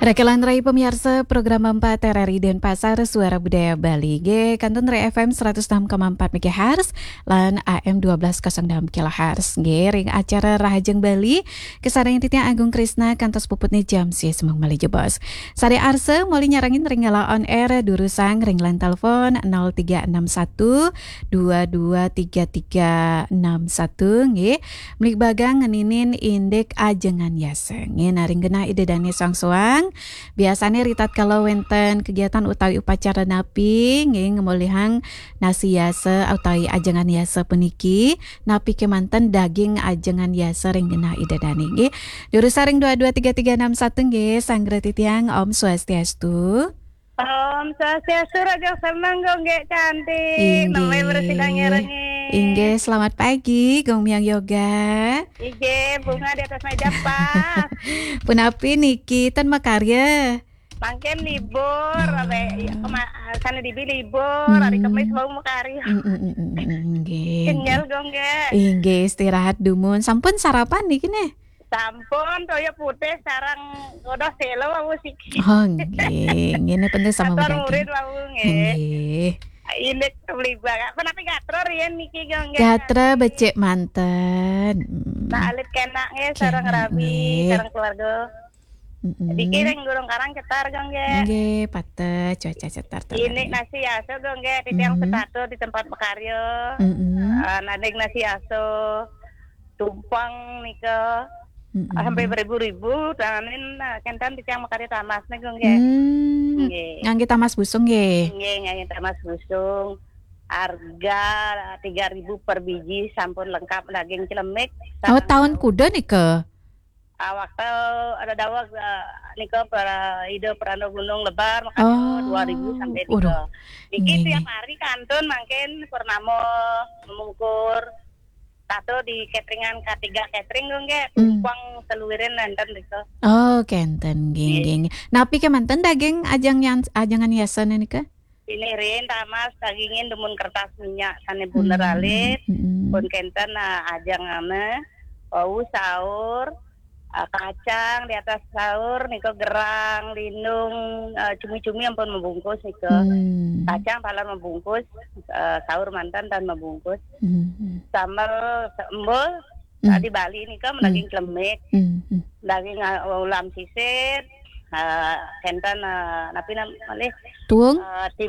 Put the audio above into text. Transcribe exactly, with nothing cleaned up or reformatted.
Rekelan rai pamiarsa program empat R R I Denpasar, Suara Budaya Bali. Nggih, kantun ring F M seratus enam koma empat megahertz lan A M dua belas kosong enam kilohertz. Nggih, ring acara Rahajeng Bali, kasarengin titiang Agung Krisna kantos puputne jam sih semeng malih jebos. Sare arsa, malih nyarengin ring galah on air, durusang ring line telepon nol tiga enam satu dua dua tiga tiga enam satu, nggih. Mligbagang ngeninin indik ajengan yasa. Nggih, nah ring genah Ida Dane soang-soang, biasane ritatkala wenten kegiatan utawi upacara napi, nggih, ngemolihang nasi yasa utawi ajengan yasa puniki, napi kemanten daging ajengan yasa ring genah Ida Dane, nggih. Durusang ring dua dua tiga tiga enam satu, nggih, sanggra titiang, Om Swastiastu. Om Swastiastu, Raja Seneng, Gung Gek Cantik. Inggih. Namanya bersidang nyerengin. Inggih, selamat pagi, Gung Miang Yoga. Inggih, bunga di atas meja pas. Punapi niki, ten makarya? Mangkin libur, ah, abe, ya, kema-, sana dibi libur, hari Kemis mau makarya. Mm, mm, mm, mm, mm, nggih, kenyal, nggih. Gung Gek. Inggih, istirahat dumun. Sampun sarapan niki, neh? Sampun, toya putih sareng udah selo wau siki. Oh, nggih. Ngene penting sama. Atur murid wau, nggih. Nggih. Indik beli banget. Menawi gatra riyen niki, Gung Gek? Gatra becik manten. Mm. Nah, alit kenak nggih, sareng rabi, nggih, sareng keluarga. Mm-mm. Niki ring Gunung Karang cetar, Gung Gek. Nggih, pateh cuaca cetar. Indik nasi aso, Gung Gek, titiang, mm-mm, setata di tempat makarya. Mm-mm. Eh, nading nasi aso. Tumpeng nika, mm-mm, sampai beribu-ribu, tanin, nah, kenten titiang makarya tamas nih, Gung, nggih. Hmm. Nggih. Ngangge tamas busung, nggih? Nggih, ngangge tamas busung. Harga tiga ribu per biji, sampun lengkap daging celemik. Oh, sareng taun kuda nika? Ah, waktu ada daweg, eh, nika para Ida Pranda Gunung Lebar, makanya, oh, dua ribu sampai, waduh, nika. Niki, nggih, tiap hari kantun mangkin purnama memungkur. Tato di cateringan K tiga Catering, Gung, nggih. Hmm. Tumpeng seluwirin nenten nika. Oh, kenten, nggih, nggih, nggih. Napi kemanten daging ajeng yan-, ajengan yasane nika? Sinirin tamas dagingin dumun kertas minyak sane buner, hmm, alit. Hmm. Pun kenten, ah, ajengane. Wau saur, ah, kacang di atas saur, nika gerang, lindung, ah, cumi-cumi ampun mabungkus nika. Hmm. Kacang taler mabungkus, ah, saur manten tan mabungkus. Hmm. Sambel, sambel, hmm, tadi Bali nika, hmm, daging celemik, hmm, hmm, daging, ah, ulam sisir, ah, kenten, ah, napi nam-, malih? Tuung? Ah,